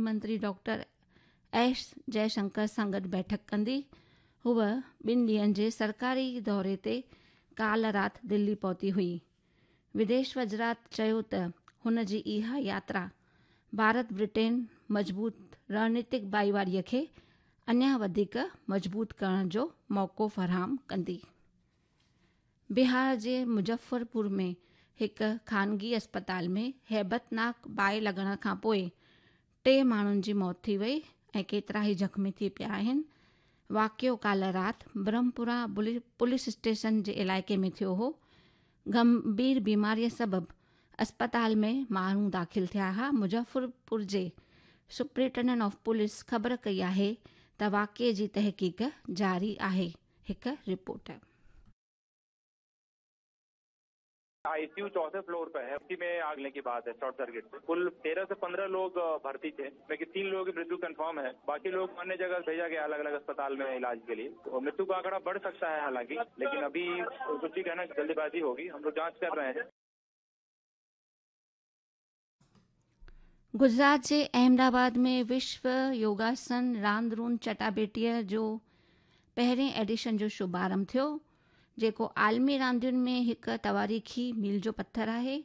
मंत्री doctor S Jaishankar सां गॾु बैठक कंदी। हूअ ॿिनि ॾींहंनि जे सरकारी दौरे ते काल्ह राति दिल्ली पहुती हुई। विदेश वज़ारत चयो त हुन जी इहा यात्रा भारत ब्रिटेन मज़बूत रणनीतिक भाईवारीअ खे अञा वधीक मज़बूत करण जो मौक़ो फराहम कंदी। बिहार जे मुज़फ़रपुर में हिकु ख़ानगी अस्पताल में हैबतनाक बाहि लॻण खां पोइ टे माण्हुनि जी मौत थी वई ऐं केतिरा ई ज़ख़्मी थी पिया आहिनि। वाक़िओ काल्ह राति ब्रह्मपुरा पुलिस स्टेशन जे इलाइक़े में थियो हो। गंभीर बीमारीअ सबबु अस्पताल में माण्हू दाख़िल थिया हुआ। मुज़फ़रपुर जे सुपरिटेंडेंट ऑफ पुलिस ख़बर कई आहे त वाक़िए जी तहक़ीक़ जारी आहे। हिकु रिपोर्ट। आईसीयू चौथे फ्लोर पे है, उसी में आग लगने की बात है। शॉर्ट सर्किट से कुल 13 से 15 लोग भर्ती थे, लेकिन 3 लोगों की मृत्यु कंफर्म है। बाकी लोग अन्य जगह भेजा गया अलग अलग अस्पताल में इलाज के लिए। तो मृत्यु का आंकड़ा बढ़ सकता है हालांकि, लेकिन अभी कुछ भी कहना जल्दबाजी होगी। हम लोग जांच कर रहे हैं। गुजरात जे अहमदाबाद में विश्व योगासन रांदरून चटाबेटीअ जो पहिरें एडिशन जो शुभारंभ थियो, जेको आलमी रांदियुनि में हिकु तवारीख़ी मील जो पथर आहे।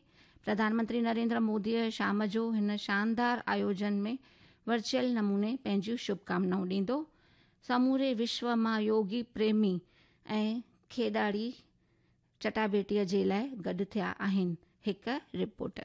प्रधानमंत्री नरेंद्र मोदीअ शाम जो हिन शानदार आयोजन में वर्चुअल नमूने पंहिंजूं शुभकामनाऊं ॾींदो। समूरे विश्व मां योगी प्रेमी ऐं खेॾाड़ी चटाबेटीअ जे लाइ गॾु थिया आहिनि। हिकु रिपोर्ट।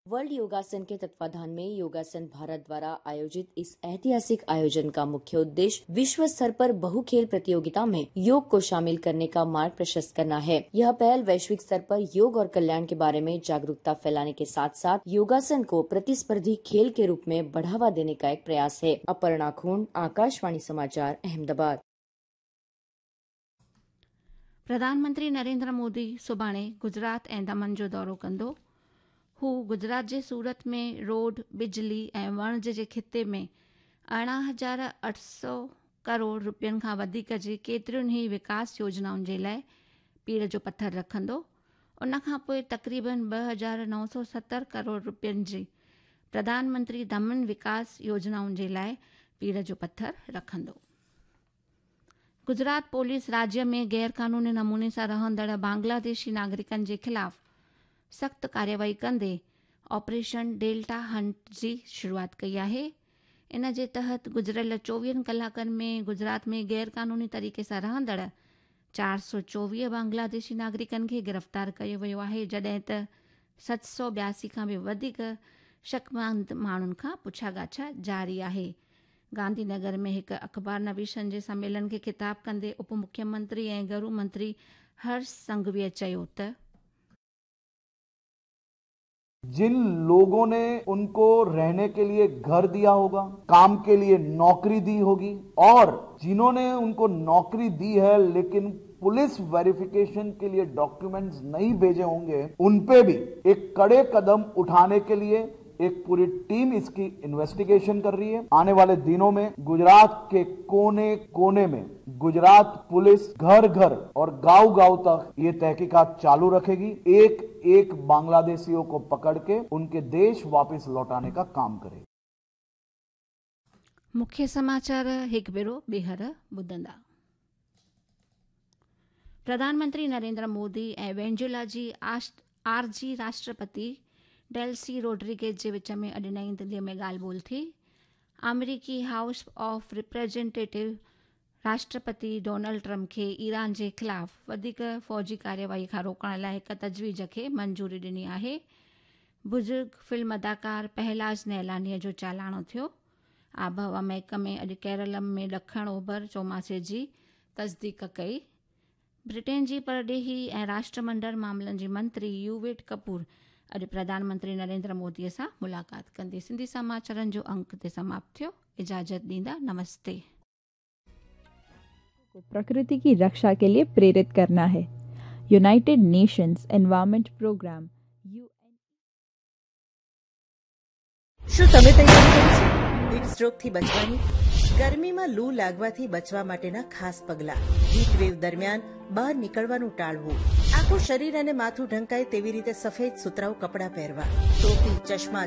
वर्ल्ड योगासन के तत्वाधान में योगासन भारत द्वारा आयोजित इस ऐतिहासिक आयोजन का मुख्य उद्देश्य विश्व स्तर पर बहु खेल प्रतियोगिता में योग को शामिल करने का मार्ग प्रशस्त करना है। यह पहल वैश्विक स्तर पर योग और कल्याण के बारे में जागरूकता फैलाने के साथ साथ योगासन को प्रतिस्पर्धी खेल के रूप में बढ़ावा देने का एक प्रयास है। अपर्णा खून, आकाशवाणी समाचार, अहमदाबाद। प्रधानमंत्री नरेंद्र मोदी सुभाणे गुजरात ऐं दमन जो दौरो कंदो। हू गुजरात जे सूरत में रोड, बिजली ऐं वणज जे ख़िते में 18,800 करोड़ रुपयनि खां वधीक जे केतिरियुनि ई विकास योजनाउनि जे लाइ पीड़ जो पथर रखंदो। उन खां पोइ तक़रीबन 2,970 करोड़ रुपयनि जी प्रधानमंत्री दमन विकास योजनाउनि जे लाइ पीड़ जो पथर रखंदो। गुजरात पुलिस राज्य में गैर क़ानूनी नमूने सां रहंदड़ बांग्लादेशी नागरिकनि जे ख़िलाफ़ सख़्तु कार्यवाही कंदे ऑपरेशन डेल्टा हंट जी शुरूआत कई आहे। इन जे तहत गुज़िरियल 24 कलाकनि में गुजरात में गैर क़ानूनी तरीक़े सां रहंदड़ 424 बांग्लादेशी नागरिकनि खे गिरफ़्तार कयो वियो आहे, जॾहिं त 782 खां बि वधीक शकमंद माण्हुनि खां पुछा ॻाछा जारी आहे। गांधीनगर में हिकु अख़बार नवीसनि जे सम्मेलन खे ख़िताब कंदे उप मुख्यमंत्री ऐं घरू मंत्री हर्ष संघवीअ चयो त जिन लोगों ने उनको रहने के लिए घर दिया होगा, काम के लिए नौकरी दी होगी, और जिन्होंने उनको नौकरी दी है लेकिन पुलिस वेरिफिकेशन के लिए डॉक्यूमेंट्स नहीं भेजे होंगे, उन पे भी एक कड़े कदम उठाने के लिए एक पूरी टीम इसकी इन्वेस्टिगेशन कर रही है। आने वाले दिनों में गुजरात के कोने कोने में गुजरात पुलिस घर घर और गांव गांव तक ये तहकीकात चालू रखेगी। एक एक बांग्लादेशियों को पकड़ के उनके देश वापस लौटाने का काम करेगी। मुख्य समाचार हिक भेरो ॿीहर ॿुधंदा। प्रधानमंत्री नरेंद्र मोदी ऐं वेनेजुएला जी आरजी राष्ट्रपति डेल्सी रोड्रिगेज जे विच में अॼु नई दिल्लीअ में ॻाल्हि ॿोल थी। अमेरिकी हाउस ऑफ रिप्रेजेंटेटिव राष्ट्रपति डोनाल्ड ट्रंप खे ईरान जे ख़िलाफ़ वधीक फ़ौजी कार्यवाही खां रोकण लाइ हिकु तजवीज़ खे मंजूरी ॾिनी आहे। बुज़ुर्ग फ़िल्म अदाकार पहलाज नहलानीअ जो चालाणो थियो। आबहवा महकमे अॼु केरल में ॾखण ओभर चौमासे जी तस्दीक कई। ब्रिटेन जी परॾेही ऐं राष्ट्रमंडल मामलनि जी मंत्री यूवेट कपूर अॼु प्रधानमंत्री नरेंद्र मोदीअ सां मुलाक़ात कंदी। सिंधी समाचारनि जो अंक ते समाप्त थियो। इजाज़त ॾींदा, नमस्ते। प्रकृति की रक्षा के लिए प्रेरित करना है। यूनाइटेड नेशंस एनवायरनमेंट प्रोग्राम શું તમે તૈયારી કરી છે હીટ સ્ટ્રોકથી બચવાની? ગરમીમાં લૂ લાગવાથી બચવા માટેના ખાસ પગલાં, હીટ વેવ દરમિયાન બહાર નીકળવાનું ટાળવું. આખું શરીર અને માથું ઢંકાય તેવી રીતે સફેદ સુતરાઉ કપડાં પહેરવા, ટોપી, ચશ્મા